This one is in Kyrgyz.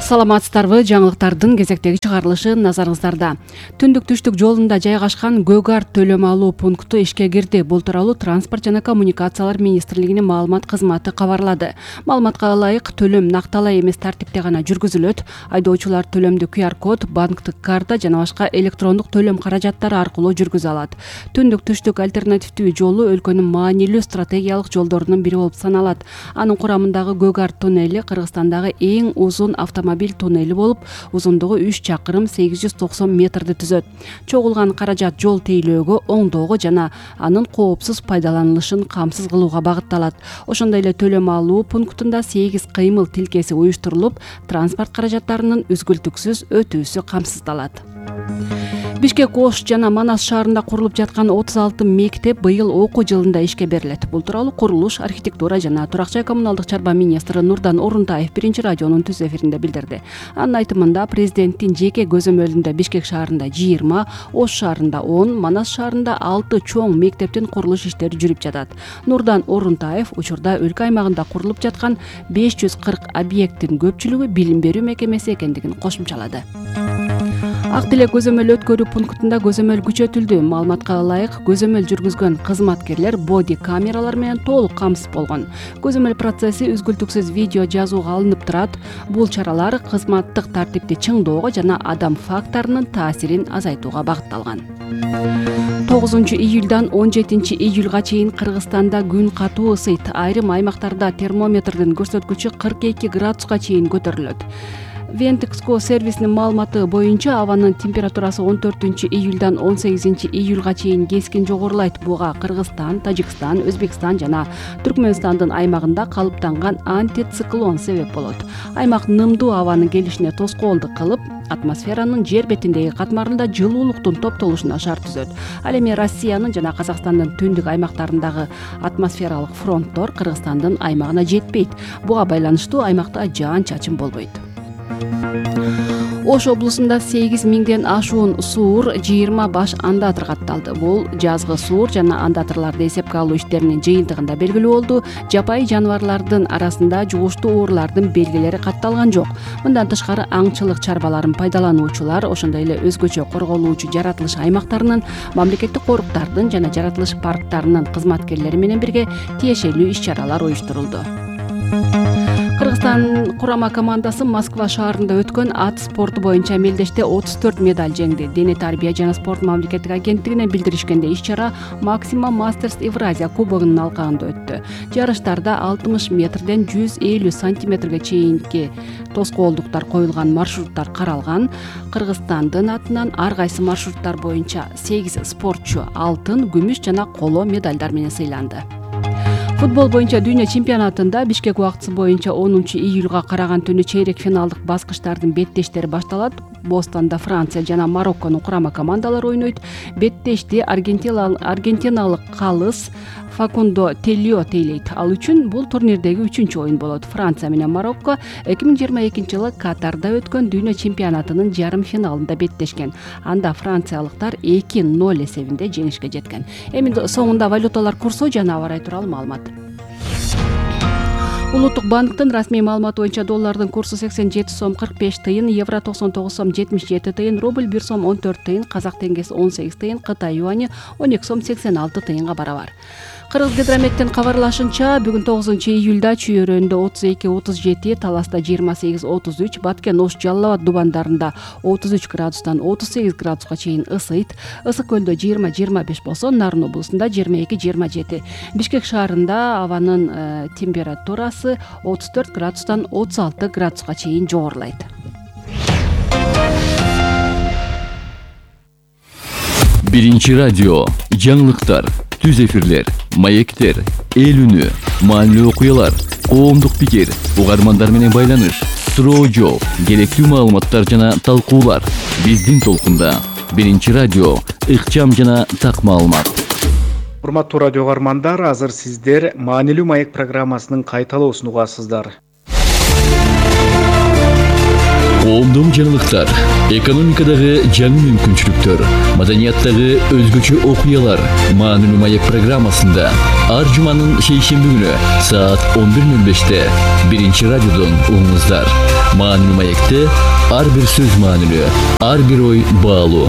Саламатсыздарбы? Жаңылыктардын кезектеги чыгарылышы назарыңыздарда. Түндүк түштүк жолунда жайгашкан Гөгар төлөм алуу пункту ишке кирди. Бул тууралуу Транспорт жана коммуникациялар министрлигинин маалымат кызматы кабарлады. Маалыматка ылайык, төлөм накталай эмес тартипте гана жүргүзүлөт. Айдоочулар төлөмдү QR код, банктык карта жана башка электрондук төлөм каражаттары аркылуу жүргүзө алат. Түндүк түштүк альтернативдүү жолу өлкөнүн маанилүү стратегиялык жолдорунун бири болуп саналат. Анын курамындагы Гөгар туннели Кыргызстандагы эң узун автомобиль туннели болуп, узундугу 3 чакырым 890 метрди түзөт. Чогулган каражат жол тейлөөгө, оңдоого жана анын коопсуз пайдаланылышын камсыз кылууга багытталат. Ошондой эле төлөм алуу пунктунда 8 кыймыл тилкеси уюштурулуп, транспорт каражаттарынын үзгүлтүксүз өтүүсү камсыздалат. Бишкек, Ош жана Манас шаарында курулуп жаткан 36 мектеп быйыл окуу жылында ишке берилет. Бул тууралуу курулуш, архитектура жана турак жай коммуналдык чарба министри Нурдан Орунтаев биринчи радионун түз эфиринде билдирди. Анын айтымында, президенттин жеке көзөмөлүндө Бишкек шаарында 20, Ош шаарында 10, Манас шаарында 6 чоң мектептин курулуш иштери жүрүп жатат. Нурдан Орунтаев учурда өлкө аймагында курулуп жаткан 540 объекттин көпчүлүгү билим берүү мекемеси экендигин кошумчалады. Ак Тилек көзөмөл өткөрүү пунктунда көзөмөл күчөтүлдү. Маалыматка ылайык, көзөмөл жүргүзгөн кызматкерлер боди камералар менен толук камсыз болгон. Көзөмөл процесси үзгүлтүксүз видео жазууга алынып турат. Бул чаралар кызматтык тартипти чыңдоого жана адам факторунун таасирин азайтууга багытталган. 9 июлдан 17 июлга чейин Кыргызстанда күн катуу ысыйт. Айрым аймактарда термометрдин көрсөткүчү 42 градуска чейин көтөрүлөт. Вентекско сервисинин маалыматы боюнча абанын температурасы 14 июлдан 18 июлга чейин кескин жогорулайт. Буга Кыргызстан, Тажикстан, Өзбекстан жана Түркмөнстандын аймагында калыптанган антициклон себеп болот. Аймак нымдуу абанын келишине тоскоолдук кылып, атмосферанын жер бетиндеги катмарында жылуулуктун топтолушуна шарт түзөт. Ал эми Россиянын жана Казакстандын түндүк аймактарындагы атмосфералык фронттор Кыргызстандын аймагына жетпейт. Буга байланыштуу аймакта жаан-чачын болбойт. Ош облусунда 8 миңден ашуун суур, 20 баш андатыр катталды. Бул жазгы суур жана андатырларды эсепке алуу иштеринин жыйынтыгында белгилүү болду. Жапайы жаныбарлардын арасында жугуштуу оорулардын белгилери катталган жок. Мындан тышкары аңчылык чарбаларын пайдалануучулар, ошондой эле өзгөчө корголуучу жаратылыш аймактарынын, мамлекеттик коруктардын жана жаратылыш парктарынын кызматкерлери менен бирге тиешелүү иш-чаралар уюштурулду. Кыргызстан курама командасы Москва шаарында өткөн ат спорту боюнча мелдеште 34 медаль жеңди. Дене тарбия жана спорт мамлекеттик агенттигинен билдиришкенде, иш-чара Максима Мастерс Евразия кубогунун алкагында өттү. Жарыштарда 60 метрден 150 сантиметрге чейинки тоскоолдуктар коюлган маршруттар каралган. Кыргызстандын атынан ар кайсы маршруттар боюнча 8 спортчу алтын, күмүш жана коло медальдар менен сыйланды. Футбол боюнча дүйнө чемпионатында Бишкек убактысы боюнча 10 июлга караган түнү чейрек финалдык баскычтардын беттештери башталат. Бостонда Франция жана Марокконун курама командалары ойнойт. Беттешти аргентиналык калыс Факундо Телио тейлейт. Ал үчүн бул турнирдеги 3-чү оюн болот. Франция менен Марокко 2022-жылы Катарда өткөн дүйнө чемпионатынын жарым финалында беттешкен. Анда франциялыктар 2-0 эсебинде жеңишке жеткен. Эми соңунда валюталар курсу жана аба ырайы тууралуу маалымат. Улуттук банктын расмий маалыматы боюнча доллардын курсу 87 сом 45 тыйын, евро 99 сом 77 тыйын, рубль 1 сом 14 тыйын, казак теңгеси 18 тыйын, Кытай юани 12 сом 86 тыйынга барабар. Кыргызгидрометтин кабарлашынча, бүгүн 9 июлда Чүйөрөндө 32-37, Таласта 28-33, Баткен, Ош, Жалал Абад дубандарында 33 градустан 38 градуска чейин ысыйт. Ысык көлдө 20-25 болсо, Нарын облусунда 22-27. Бишкек шаарында абанын температурасы 34 градустан 36 градуска чейин жогорулайт. Биринчи радио, жаңылыктар, түз эфирлер, маектер, эл үнү, маанилүү окуялар, коомдук пикир, угармандар менен байланыш, суроо жооп, керектүү маалыматтар жана талкуулар. Биздин толкунда Биринчи радио, ыкчам жана так маалымат. Урматтуу радио угармандар, азыр сиздер маанилүү маек программасынын кайталоосун угасыздар. Коомдук жаңылыктар, экономикадагы жаңы мүмкүнчүлүктөр, маданияттагы өзгөчө окуялар маанилүү маек программасында ар жуманын шейшемби күнү саат 11:05 Биринчи радиодон угуңуздар. Маанилүү маекте ар бир сөз маанилүү, ар бир ой баалуу.